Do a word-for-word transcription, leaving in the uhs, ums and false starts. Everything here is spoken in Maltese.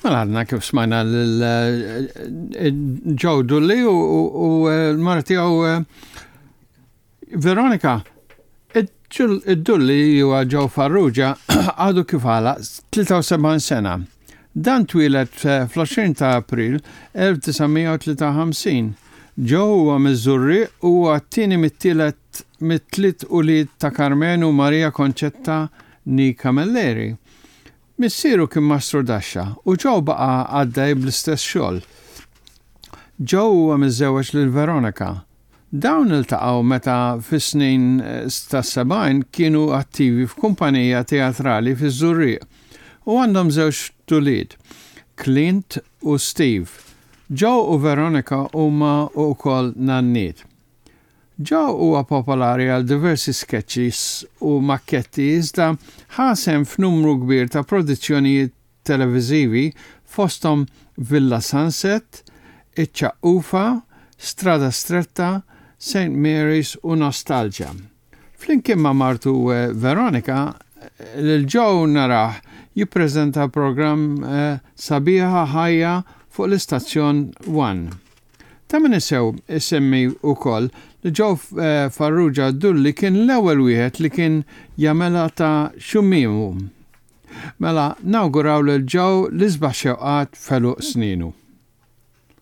Mela għadna kif smajna lil Joe Dulli u l-mara tiegħu Veronika. Id-Dulli huwa Joe Farrugia għadu kif għalaq tlieta u sebgħin sena. Dan twieled fl-għoxrin ta' April elf disa' mija u tlieta u ħamsin. Joe huwa miż-Żurrieq u huwa t-tieni mit-tielet mit-tliet ulied ta' Carmenu u Maria Concetta née Camilleri. Missieru kien mastru daxxa u Joe baqa' għaddej bl-istess xogħol. Joe huwa miżżewweġ lil Veronika. Dawn iltaqgħu meta fis-snin tas-sebgħin kienu attivi f'kumpanija teatrali fiż-Żurrieq u għandhom żewġ ulied, Clint u Steve. Joe u Veronika huma wkoll nanniet. Joe huwa popolari għal diversi sketches u makketti, iżda ħa sehem f'numru kbir ta' produzzjonijiet televiżivi, fosthom Villa Sunset, Iċ-Ċaqqufa, Strada Stretta, Saint Mary's u Nostalgia. Flimkien ma' martu eh, Veronika, lil Joe narah jippreżenta program eh, Sabiħa Ħajja fuq l-istazzjon One. Ta' min isew isemmi wkoll li Joe eh, Farrugia Dulli kien l-ewwel wieħed li kien jagħmilha ta' xummimu. Mela nawguraw lil Joe l-isbaħ xewqat f'għeluq sninu.